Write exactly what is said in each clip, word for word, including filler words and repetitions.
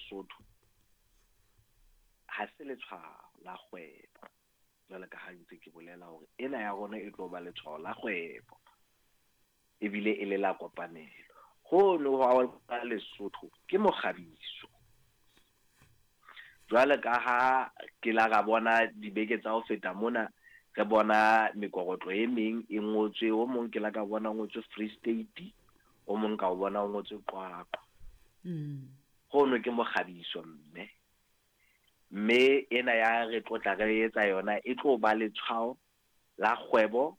Lesotho ha se letshwao la kgwebo. Jwale ka ha ntse ke bolela hore ena ya rona e tlo ba letshwao la kgwebo ebile e le la kopanelo. Hono ha Lesotho ke mokgabiso. Jwale ka ha ke la ra bona dibeke tsa ho feta mona, re bona mekorotlo e meng e ngotswe, o mong ke la ka bona o ngotswe Free State, o mong ka o bona o ngotswe Qwaqwa. Mm. Hono ke mokgabiso mme. Mme ena ya re tlotla re etsa yona e tlo ba letshwao la kgwebo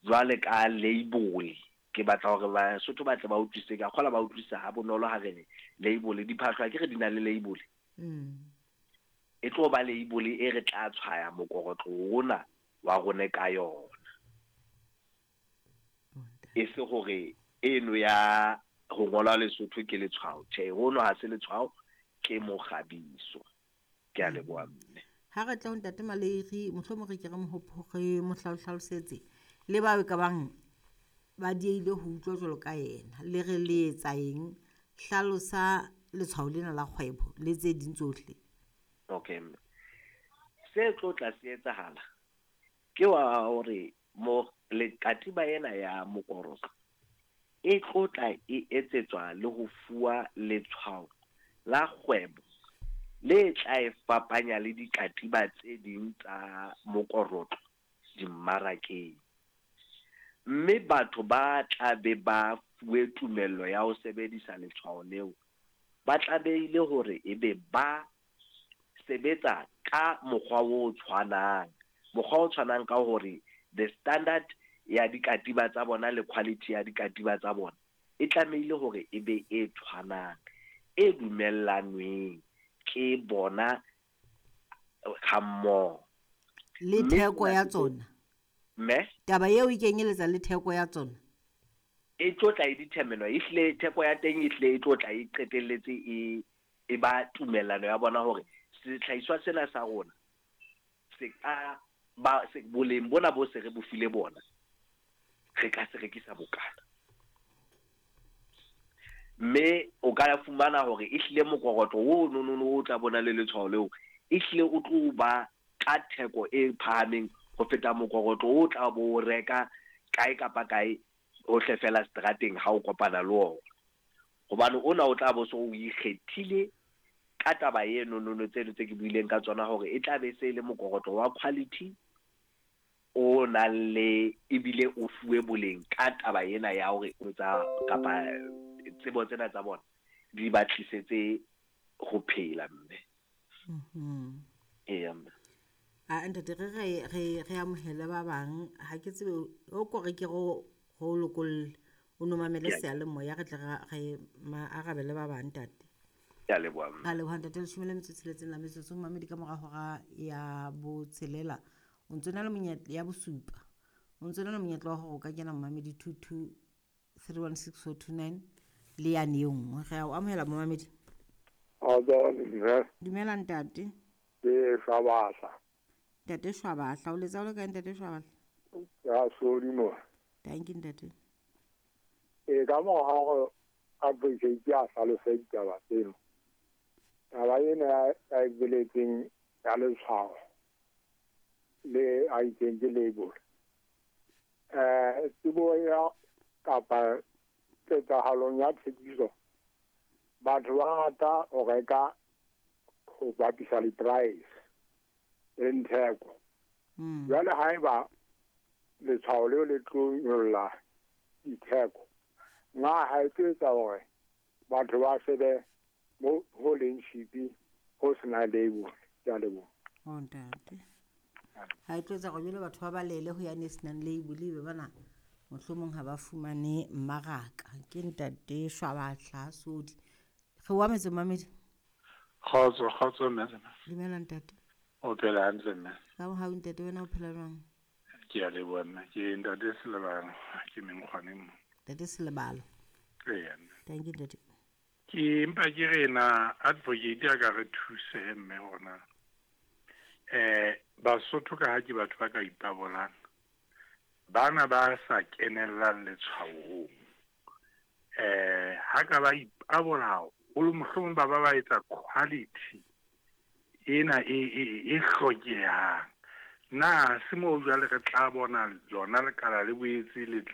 jwale ka label. Ke batla hore Basotho ba tle ba utlwisise, ka kgola ba utlwisisa ha bonolo ha re re label, diphahlo ha ke re di na le label. Mm. E tlo ba label e re tla tshwaya mokorotlo ona wa rona ka yona. E se hore eno ya ho ngola Lesotho ke letshwao. Tjhe, hono ha se letshwao, ke mokgabiso. Ke a leboha mme. Ha re tla ho Ntate Maleiri, mohlomong re ke re mo re mo hlalosetse le bao ka bang ba dieile ho utlwa jwalo ka yena, le re le etsa eng, hlalosa letshwao lena la kgwebo le tse ding tsohle. Okay mme. Se tlo tla se etsahala ke wa hore mo le katiba ena ya mokorotlo e tlo tla e etsetswa le ho fuwa letshwao la kgwebo le tla e fapanya le dikatiba tse ding tsa mokorotlo dimmarakeng. Mme batho ba tla be ba fuwe tumello ya ho sebedisa letshwao leo, ba tlamehile hore ebe ba sebetsa ka mokgwa o tshwanang. Mokgwa o tshwanang ka hore the standard ya dikatiba tsa bona le quality ya dikatiba tsa bona e tlamehile hore ebe e tshwanang, e dumellanweng ke bona ha mmoho. Le Mme theko ya sena se tsona. Mme? Taba eo e kenyeletsa le theko ya tsona. E tlo tla e determine-wa, ehlile theko ya teng ehlile e tlo tla e qetelletse e, e ba tumellano ya bona hore sehlahiswa sena sa rona se ka ba, se, boleng bona bo se re bo file bona, re ka se rekisa bokana. Mme o ka fumana hore ehlile mokorotlo o no, no, no, o tla bona le letshwao leo, ehlile o tlo ba ka theko e phahameng ho feta mokorotlo o tla bo o reka kae kapa kae hohle fela strateng ha o kopana le ona. Hobane ona o tla bo so o ikgethile ka taba eno no, no, tseno tse ke buileng ka tsona hore e tla be se le mokorotlo wa quality o nang le ebile o fuwe boleng ka taba ena ya hore o tsa kapa tsebo tsena tsa bona di ba tlisetse ho phela mme. Mhm. Eya mme. A ntate re re re re amohele ba bang, ha ke tsebe o ko re ke ro go lokolle o no mamele Ke a seyalemoya re tle re re ma arabele ba bang ntate. Ke a leboha mme. Ra leboha ntate, leshome le metso e tsheletseng la metsotso mamedi ka mora hora ya botshelela. O ntso na le monyetla ya bosupa. O ntso na le monyetla wa hore o ka kena momamedi two two three one six four two nine le yane e nngwe. Re a o amohela momamedi. Kgotso, mme. Dumela ntate. Ke Shwabahla. Ntate Shwabahla, o letsa o le kae ntate Shwabahla? Ya Sodi mo. Thank you ntate. E ka mora hore advocate a hlalose ditaba tseno. Taba ena ya, ya e boletseng ya letshwao le a itseng ke label. Eh, tsebo ya kapa ketsahalong ya thekiso, batho ba rata ho reka ho bapisa di-price le theko. Mm. Jwale haeba letshwao leo le tlo nyolla ditheko, na ha e tlo etsa hore batho ba shebe mo ho leng cheap ho sena label? Ke a leboha. Oh, ntate. Ha e tlo etsa hore jwale batho ba balele ho yane e senang label, ebe bana mohlomong ha ba fumane mmaraka. Ke ntate Shwabahla Sodi. Re o ametse momamedi. Kgotso, kgotso mme. Dumela ntate. O phela hantle mme. Ka mohau ntate, wena o phela jwang? Ke a leboha mme. Ke ntate Selebalo, ke Menkgwaneng mo. Ntate Selebalo. Eya mme. Thank you ntate. Ke mpa ke re na advocate a ka re thuse mme hona. Eh, Basotho ka ha ke batho ba ka ipabolang. Bana ba sa kenellang letshwaong. Eh, ha ka ba ipabola haholo mohlomong ba ba ba etsa quality ena e e e hlokehang. Na se moo jwale re tla bona lona lekala le boetse le tla